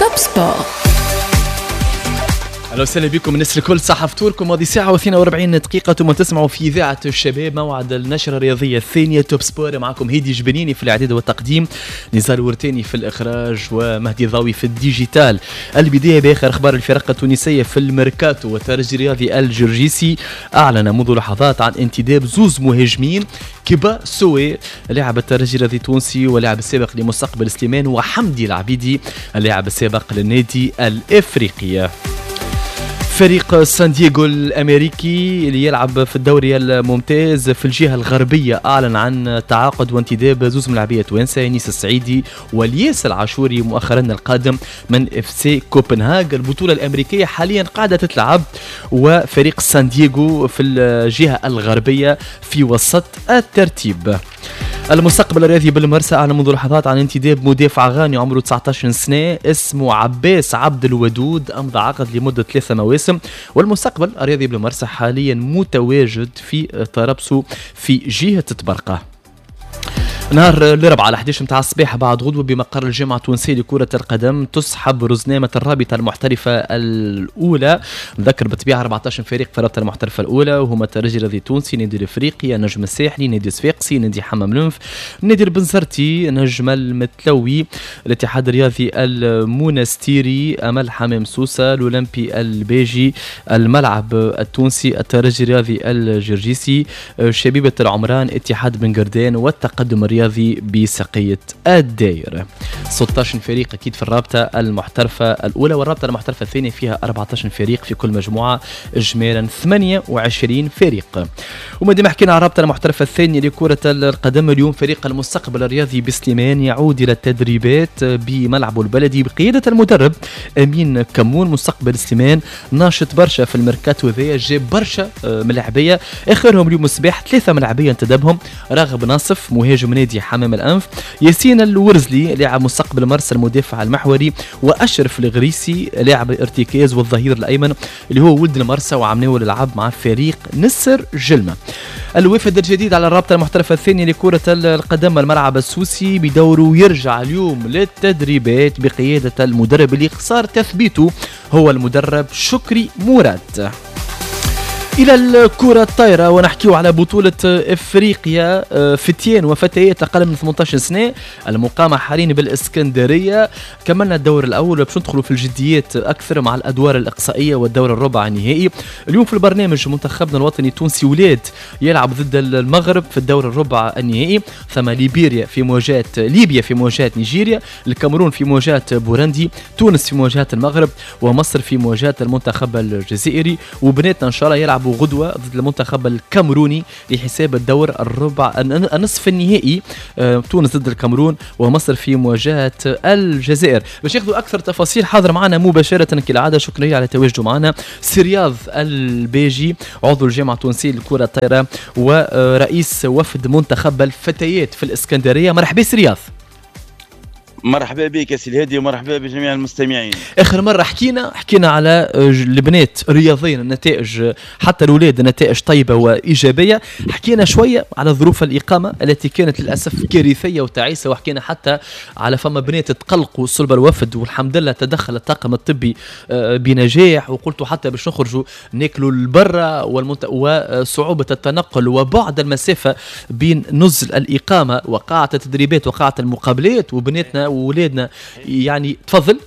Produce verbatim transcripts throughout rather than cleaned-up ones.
Top Sport. اهلا وسهلا بكم الناس الكل، صحة فطوركم. ماضي ساعة واثنين وأربعين دقيقة ثم تسمعوا في إذاعة الشباب موعد النشرة الرياضية الثانية Top Sport. معكم هيدي جبنيني في الإعداد والتقديم، نزال ورتاني في الإخراج، ومهدي ضاوي في ال digital. البداية بآخر أخبار الفرق التونسية في الميركاتو. والترجي الرياضي الجرجيسي أعلن منذ لحظات عن انتداب زوز مهاجمين، كيبا سوي لاعب الترجي الرياضي التونسي ولاعب السابق لمستقبل سليمان، وحمدي العبيدي اللاعب السابق للنادي الإفريقي. فريق سان دييغو الامريكي اللي يلعب في الدوري الممتاز في الجهة الغربية اعلن عن تعاقد وانتداب زوز ملاعبيه توانسة، انيس السعيدي والياس العاشوري، مؤخرا القادم من اف سي كوبنهاغ. البطولة الامريكية حاليا قاعدة تتلعب، وفريق سان دييغو في الجهة الغربية في وسط الترتيب. المستقبل الرياضي بالمرسى أعلن منذ لحظات عن انتداب مدافع غاني عمره تسعة عشر سنة اسمه عباس عبد الودود، أمضى عقد لمدة ثلاثة مواسم. والمستقبل الرياضي بالمرسى حاليا متواجد في طرابسو في جهة طبرقة. نهار الاربعاء على إحداش متاع الصباح بعد غدوه بمقر الجامعة التونسية لكرة القدم تسحب رزنامه الرابطة المحترفه الاولى. نذكر بالطبيعة أربعة عشر فريق في الرابطة المحترفه الاولى، وهما الترجي الرياضي التونسي، نادي الافريقي، النجم الساحلي، نادي صفاقسي، نادي حمام الانف، نادي البنزرتي، نجم المتلوي، الاتحاد الرياضي المونستيري، امل حمام سوسه، الاولمبي الباجي، الملعب التونسي، الترجي الرياضي الجرجيسي، شبيبة العمران، اتحاد بن قردان، والتقدم الرياضي بسقية الداير. ستة عشر فريق أكيد في الرابطة المحترفة الأولى، والرابطة المحترفة الثانية فيها أربعة عشر فريق في كل مجموعة، إجمالا ثمانية وعشرين فريق. وما دام حكينا على الرابطة المحترفة الثانية لكرة القدم، اليوم فريق المستقبل الرياضي بسليمان يعود إلى التدريبات بملعبه البلدي بقيادة المدرب أمين كمون. مستقبل سليمان ناشط برشا في الميركاتو ذا، جاب برشا آه، ملاعبية، آخرهم اليوم الصباح ثلاثة ملاعبية انتدبهم: راغب ناصف مهاجم نادي حمام الأنف، ياسين الورزلي لاعب مستقبل مرسى المدافع المحوري، وأشرف الغريسي لاعب الارتكاز والظهير الأيمن اللي هو ولد المرسى وعمناول لعب مع فريق نسر جلمة. الوافد الجديد على الرابطة المحترفة الثانية لكرة القدم الملعب السوسي بدوره يرجع اليوم للتدريبات بقيادة المدرب اللي صار تثبيته هو المدرب شكري مراد. الى الكره الطايره ونحكيو على بطوله افريقيا آه، فتيان وفتيات اقل من ثمنطاش سنة المقامة حاليا بالاسكندريه. كملنا الدور الاول وباش ندخلوا في الجديات اكثر مع الادوار الاقصائية والدور الربع النهائي. اليوم في البرنامج منتخبنا الوطني التونسي ولاد يلعب ضد المغرب في الدور الربع النهائي، ثم ليبيريا في مواجهة ليبيا في مواجهة نيجيريا، الكاميرون في مواجهة بوروندي، تونس في مواجهة المغرب، ومصر في مواجهة المنتخب الجزائري. وبناتنا ان شاء الله يلعبوا غدوه ضد المنتخب الكاميروني لحساب الدور الربع النصف النهائي، آه، تونس ضد الكاميرون ومصر في مواجهة الجزائر. باش ياخذوا اكثر تفاصيل حاضر معنا مباشرة كالعاده، شكرا على تواجده معنا، سي رياض الباجي عضو الجامعة التونسية للكرة الطايره ورئيس وفد منتخب الفتيات في الاسكندريه. مرحبا سي رياض. مرحبا بك يا سي الهادي ومرحبا بجميع المستمعين. اخر مرة حكينا حكينا على البنات رياضيا، النتائج، حتى الاولاد النتائج طيبة وايجابيه. حكينا شوية على ظروف الاقامة التي كانت للاسف كارثية وتعيسه، وحكينا حتى على فما بنات تقلقوا صلب الوفد، والحمد لله تدخل الطاقم الطبي آه، بنجاح. وقلت حتى باش نخرجوا ناكلوا البرة والمنت... وصعوبة التنقل وبعد المسافة بين نزل الاقامة وقاعه التدريبات وقاعه المقابلات وبناتنا وولادنا يعني. تفضل.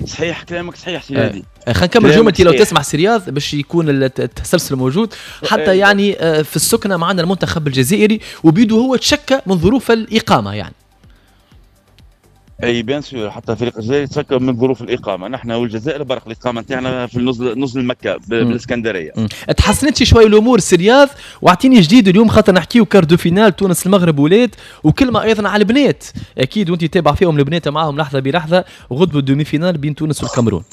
صحيح، كلامك صحيح سيدي. آه. خلينا نكمل جملتي لو تسمح سي رياض باش يكون التسلسل موجود. حتى يعني آه، في السكنة معنا المنتخب الجزائري وبيدو هو تشكى من ظروف الاقامة يعني. اي bien sûr، حتى فريق الجزائر تشكى من ظروف الاقامه. نحن والجزائر برق الاقامة نتاعنا في النزل، نزل مكة بالاسكندريه. تحسنت شوي الامور سي رياض؟ واعطيني جديد اليوم خاطر نحكيو quart de finale تونس المغرب ولاد، وكلمه ايضا على البنات اكيد وانت تابع فيهم البنات معاهم لحظة بلحظه، غدوه demi-finale بين تونس والكاميرون.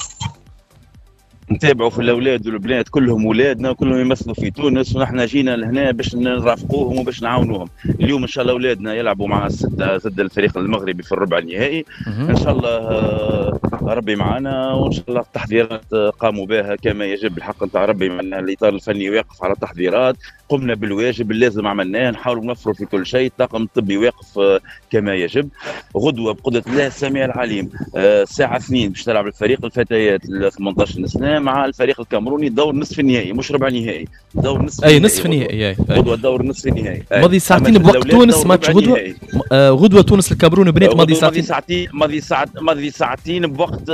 نتابعوا في الاولاد والبنات، كلهم اولادنا وكلهم يمثلوا في تونس، ونحن جينا لهنا باش نرافقوهم وباش نعاونوهم. اليوم ان شاء الله اولادنا يلعبوا مع الستة ضد الفريق المغربي في الربع النهائي. ان شاء الله آه، ربي معنا، وان شاء الله التحضيرات قاموا بها كما يجب. الحق نتاع ربي، معنا الاطار الفني واقف على التحضيرات. قمنا بالواجب اللازم عملناه، نحاولوا نوفروا في كل شيء، الطاقم الطبي واقف كما يجب. غدوه بقدره الله السميع العليم الساعة اثنين باش تلعب الفريق الفتيات ال ثمنطاش سنة مع الفريق الكاميروني دور نصف النهائي، مش ربع نهائي، دور نصف اي نصف النهائي. غدوه دور نصف النهائي ماضي ساعتين بوقت تونس ماتش غدوه. آه غدوه تونس الكاميرون بنات ماضي ساعتين ساعتين ماضي ساعت ماضي ساعتين بوقت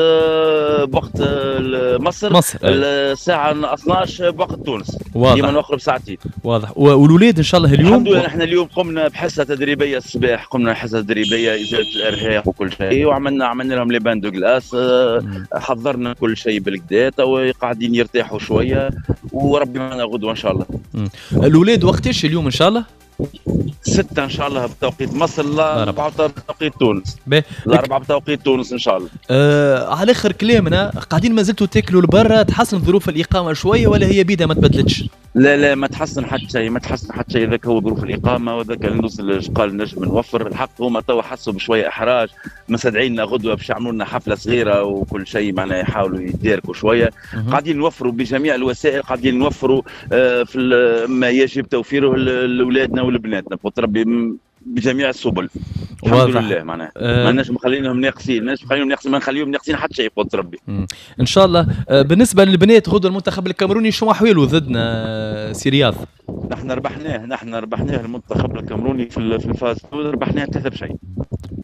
بوقت مصر, مصر. الساعة اثناش بوقت تونس. واضح، ديما نوخروا بساعتين. واضح. والولاد ان شاء الله اليوم الحمد لله نحن اليوم قمنا بحصة تدريبية الصباح، قمنا بحصة تدريبية ازالة الارهاق وكل شيء، وعملنا عملنا لهم les bains de glace، حضرنا كل شيء بالكدا، تو قاعدين يرتاحوا شوية وربي معنا غدوه ان شاء الله. الاولاد وقتاش اليوم ان شاء الله؟ ستة ان شاء الله بتوقيت مصر، الأربعة بتوقيت تونس. الأربعة بتوقيت تونس ان شاء الله. آه على اخر كلامنا قاعدين ما زلتوا تاكلوا لبرا، تحسن ظروف الاقامة شوية ولا هي بيدها ما تبدلتش؟ لا لا ما تحسن حتى شيء، ما تحسن حتى شيء، ذاك هو ظروف الاقامة وذاك النص اللي قال نجم نوفر. الحق هما توا حسوا بشوية احراج، مستدعينا غدوه باش يعملوا لنا حفلة صغيرة وكل شيء، معناها يحاولوا يداركوا شوية. قاعدين نوفروا بجميع الوسائل، قاعدين نوفروا في ما يجب توفيره لاولادنا ولبناتنا بقدرة ربي بجميع السبل. الحمد لله معناها أه ما نجم نخليهم ناقصين، ما نجم نخليهم ناقصين، ما نخليهم ناقصين حتى شيء بقدرة ربي. ان شاء الله. بالنسبة للبنات غدوه المنتخب الكاميروني شو احواله ضدنا سي رياض؟ نحن ربحناه، نحن ربحناه المنتخب الكاميروني في ال phase ربحناه ثلاثة بشيء.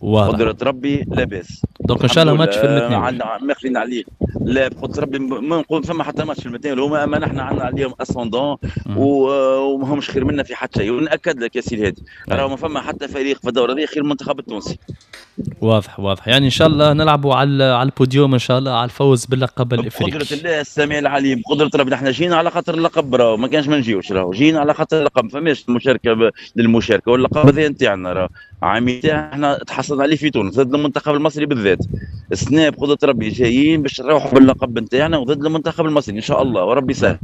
واضح. قدرة ربي لاباس. donc ان شاء الله ماتش في المتناول. عندنا ماخذين عليه لا بقدرة ربي ما نقول فما حتى ماتش في المتناول هما، اما نحن عندنا عليهم ascendant وما همش خير منا في حتى شيء، ونأكد لك يا سي الهادي راهو ما فما حتى فريق في الدورة هذه خير المنتخب التونسي. واضح واضح، يعني ان شاء الله نلعبوا على على البوديوم ان شاء الله، على الفوز باللقب الافريقي بقدرة الله السميع العليم. بقدرة ربي نحن جينا على خاطر اللقب، راهو ما كانش ما نجيوش، راهو جينا على خاطر اللقب، ما فماش مشاركة ب... للمشاركة، واللقب هذا نتاعنا راهو عامي احنا تحصلنا عليه في تونس ضد المنتخب المصري بالذات. السنة بقدرة ربي جايين باش نروحوا باللقب نتاعنا وضد المنتخب المصري ان شاء الله وربي يسهل.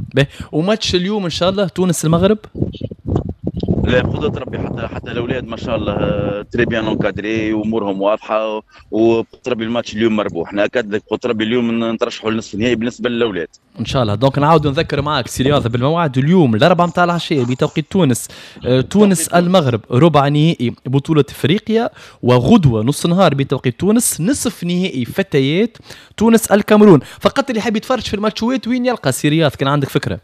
وماتش اليوم ان شاء الله تونس المغرب؟ لا بقدرة ربي حتى حتى الاولاد ما شاء الله très bien encadrés وامورهم واضحة، وبقدرة ربي الماتش اليوم مربوح. ناكد لك بقدرة ربي اليوم نترشحوا للنصف النهائي بالنسبة للاولاد ان شاء الله. donc نعاود نذكر معاك سي رياض بالموعد اليوم الأربعة نتاع العشية بتوقيت تونس، تونس المغرب ربع نهائي بطوله افريقيا، وغدوه نص نهار بتوقيت تونس نصف نهائي فتيات تونس الكاميرون. فقط اللي حاب يتفرج في الماتشوات وين يلقى سي رياض كان عندك فكرة؟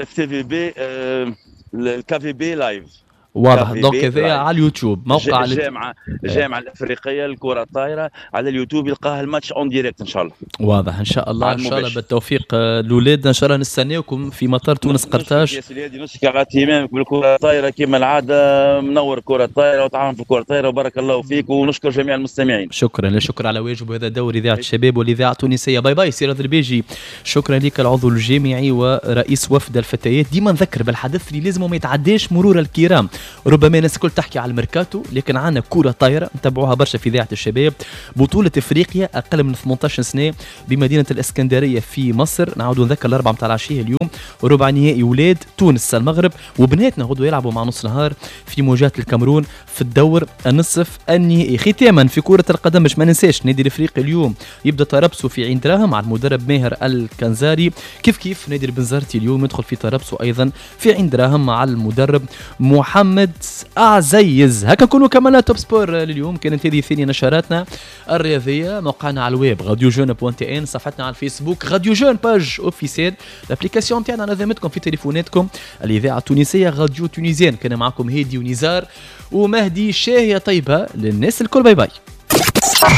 اف تي في بي ال KVB live. واضح. donc هذايا على اليوتيوب موقع الجامعة الجامعة الافريقية للكرة الطايره على اليوتيوب يلقاها الماتش en direct ان شاء الله. واضح ان شاء الله. ان شاء الله بالتوفيق الاولاد، ان شاء الله نستناكم في مطار تونس قرطاج. يا سيدي نشكر على اهتمامك بالكرة الطايره كما العادة، منور الكره الطايره وتعاون في الكره الطايره، وبارك الله فيك ونشكر جميع المستمعين. شكرا، لا شكر على واجب، وهذا دور اذاعة الشباب والاذاعه التونسية. باي باي سي رياض الباجي، شكرا لك العضو الجامعي ورئيس وفد الفتيات. ديما نذكر بالحدث اللي لازم ما يتعداش مرور الكرام. ربما الناس الكل تحكي على الميركاتو، لكن عندنا كرة طايرة نتبعوها برشا في إذاعة الشباب، بطولة افريقيا أقل من ثمنطاش سنة بمدينة الإسكندرية في مصر. نعاودوا نذكر الأربعة متاع العشية اليوم ربع نهائي ولاد تونس المغرب، وبناتنا غدوة يلعبوا مع نص نهار في مواجهة الكاميرون في الدور النصف النهائي. ختاما في كرة القدم باش ما ننساش النادي الافريقي اليوم يبدا تربصه في عين دراهم مع المدرب ماهر الكنزاري، كيف كيف نادي البنزرتي اليوم يدخل في تربصه أيضا في عين دراهم مع المدرب محمد عزيز. هكا نكونوا كملنا Top Sport لليوم. كانت هذه ثاني نشراتنا الرياضية. موقعنا على الويب radio jeune point tn، صفحتنا على الفيسبوك radio jeune page officielle، l'application تاعنا على ذمتكم في تليفوناتكم، الاذاعة التونسية radio tunisienne. كان معكم هادي ونزار ومهدي. شاهيه طيبة للناس الكل. باي باي.